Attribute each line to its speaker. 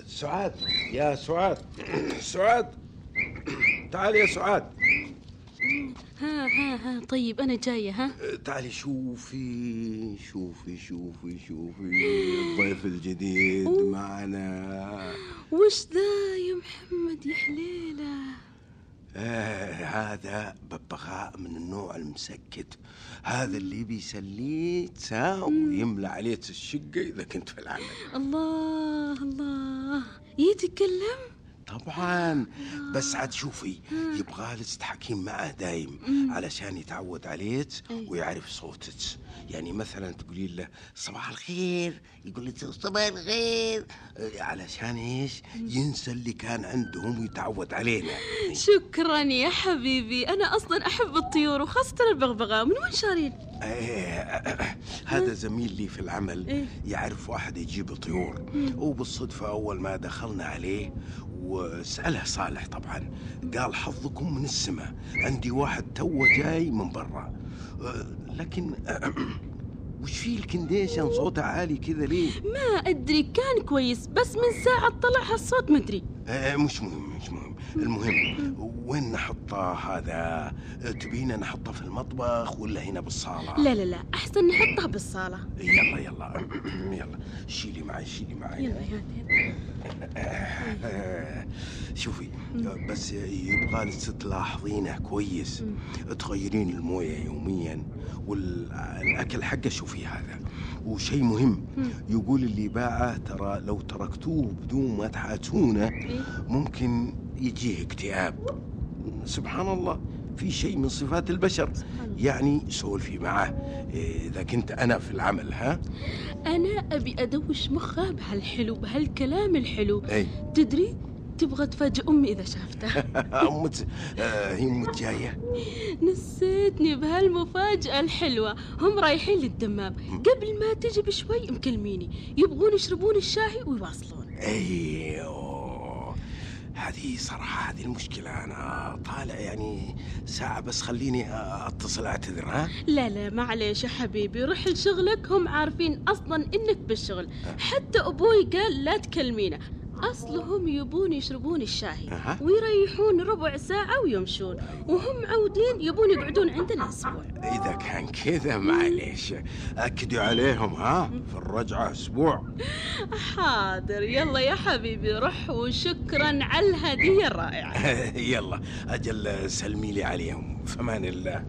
Speaker 1: سعاد، يا سعاد. سعاد، تعالي يا سعاد.
Speaker 2: ها طيب أنا جاية.
Speaker 1: تعالي شوفي شوفي شوفي شوفي الضيف الجديد معنا.
Speaker 2: وش ذا يا محمد يا حليلة؟
Speaker 1: هذا ببغاء من النوع المسكت، هذا اللي بيسليت ويملى عليك الشقة إذا كنت في العمل.
Speaker 2: الله الله، يتكلم؟
Speaker 1: طبعا، بس عاد شوفي يبغى تحكين معه دايم علشان يتعود عليك ويعرف صوتك. يعني مثلا تقولي له صباح الخير يقول لك صباح الخير، علشان ايش؟ ينسى اللي كان عندهم ويتعود علينا.
Speaker 2: شكرا يا حبيبي، انا اصلا احب الطيور وخاصة البغبغاء. من وين شارين؟
Speaker 1: هذا زميل لي في العمل يعرف واحد يجيب طيور، وبالصدفة أول ما دخلنا عليه وسأله صالح طبعا قال حظكم من السماء، عندي واحد توه جاي من برا. لكن وش فيه الكنديشن صوته عالي كذا ليه؟
Speaker 2: ما أدري، كان كويس بس من ساعة طلع هالصوت ما أدري.
Speaker 1: مش مهم. المهم وين نحطه هذا؟ تبينا نحطه في المطبخ ولا هنا بالصالة؟
Speaker 2: لا أحسن نحطه بالصالة.
Speaker 1: يلا شيلي معي.
Speaker 2: يلا.
Speaker 1: شوفي بس يبغالك تلاحظينه كويس، تغيرين الموية يوميا والأكل حقه. شوفي هذا وشيء مهم، يقول اللي باعه ترى لو تركتوه بدون ما تحاتونه ممكن يجيه اكتئاب. سبحان الله، في شيء من صفات البشر. يعني سولفي معه إذا كنت أنا في العمل.
Speaker 2: أنا أبي أدوش مخه بهالحلو، بهالكلام الحلو. تدري تبغى تفاجئ أمي إذا شافتها.
Speaker 1: هي أمك جاية؟
Speaker 2: نسيتني بهالمفاجأة الحلوة. هم رايحين للدمام، قبل ما تجي بشوي مكلميني يبغون يشربون الشاي ويواصلون.
Speaker 1: هذه صراحة هذه المشكلة، أنا طالع يعني ساعة بس، خليني أتصل أعتذر.
Speaker 2: لا معليش يا حبيبي، روح لشغلك، هم عارفين أصلا إنك بالشغل. حتى أبوي قال لا تكلمينا، أصلهم يبون يشربون الشاي ويريحون ربع ساعة ويمشون، وهم عودين يبون يقعدون عندنا أسبوع.
Speaker 1: إذا كان كذا معليش أكدوا عليهم في الرجعة أسبوع.
Speaker 2: حاضر، يلا يا حبيبي روح، وشكرا على الهدية الرائعة.
Speaker 1: يلا أجل سلمي لي عليهم، فمان الله.